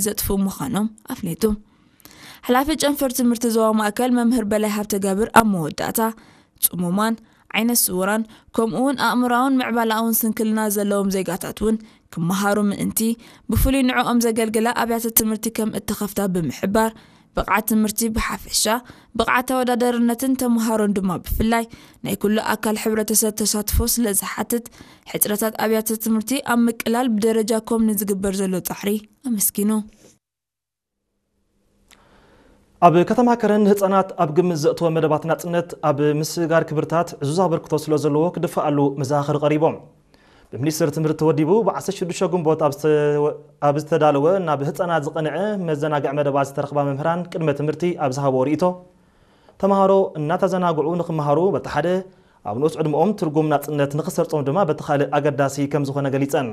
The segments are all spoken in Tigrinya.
ዘጥፍኡ ምዃኖም ኣፍሊጡ። ሓላፊ ጨንፈር ትምህርቲ ዞባ ማእከል መምህር በላይ ሃብተጋብር ኣብ መወዳእታ፣ ጽሙማን ዓይነ ስውራን ከምኡውን ኣእምሮኣውን ምዕባላኣውን ስንክልና ዘለዎም ዜጋታት እውን ክመሃሩ ምእንቲ ብፍሉይ ንዕኦም ዘገልግላ ኣብያተ ትምህርቲ ከም እተኸፍታ ብምሕባር፣ ብቕዓት ትምህርቲ ብሓፈሻ፣ ብቕዓት ተወዳዳርነትን ተምሃሮን ድማ ብፍላይ ናይ ኩሉ ኣካል ሕብረተሰብ ተሳትፎ ስለ ዝሓትት፣ ሕጽረታት ኣብያተ ትምህርቲ ኣብ ምቅላል ብደረጃ ኮም ንዝግበር ዘሎ ጻዕሪ ኣመስጊኑ። ኣብ ከተማ ከረን ንህጻናት ኣብ ግምት ዘእተወ መደባት ናጽነት ኣብ ምስጋር ክብርታት ዕዙዝ ኣበርክቶ ስለ ዘለዎ ክድፈኣሉ መዘኻኸሪ ቀሪቦም። ብሚኒስትር ትምህርቲ ተወዲቡ ብ16 ግንቦት ኣብ ዝተዳለወ ናብ ህጻናት ዝቐንዐ መዘናግዕ መደባት ዝተረኽባ መምህራን ቅድመ ትምህርቲ ኣብ ዝሃቦ ርእይቶ፣ ተምሃሮ እናተዘናግዑ ንክመሃሩ በቲ ሓደ፣ ኣብ ንኡስ ዕድመኦም ትርጉም ናጽነት ንክሰርጾም ድማ በቲ ካልእ ኣገዳሲ ከም ዝኾነ ገሊጸን።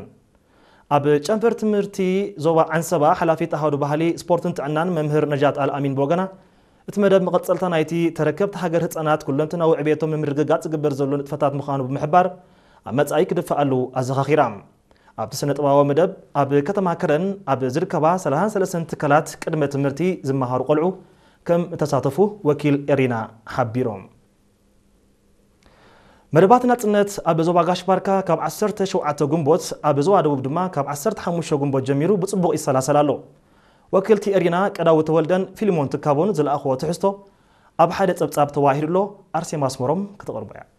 ኣብ ጨንፈር ትምህርቲ ዞባ ዓንሰባ ሓላፊት ኣሃዱ ባህሊ፣ ስፖርትን ጥዕናን መምህር ነጃት ኣልኣሚን ብወገና፣ እቲ መደብ መቐጸልታ ናይቲ ተረከብቲ ሃገር ህጻናት ኩለንትናዊ ዕቤቶም ንምርግጋጽ ዝግበር ዘሎ ንጥፈታት ምዃኑ ብምሕባር፣ ኣብ መጻኢ ክድፈኣሉ ኣዘኻኺራ። ኣብቲ ስነ ጥበባዊ መደብ ኣብ ከተማ ከረን ኣብ ዝርከባ 33 ትካላት ቅድመ ትምህርቲ ዝመሃሩ ቆልዑ ከም እተሳተፉ ወኪል ኤሪና ሓቢሮም። መደባት ናጽነት ኣብ ዞባ ጋሽ ባርካ ካብ 17 ግንቦት፣ ኣብ ዞባ ደቡብ ድማ ካብ 15 ግንቦት ጀሚሩ ብጽቡቕ ይሰላሰል ኣሎ። ወኪልቲ ኤሪና ቀዳዊ ተወልደን ፊልሞን ትካቦን ዝለኣኽዎ ትሕዝቶ ኣብ ሓደ ጸብጻብ ተዋሂዱ ኣሎ። ኣርሴማ ኣስመሮም ከተቕርቦ እያ።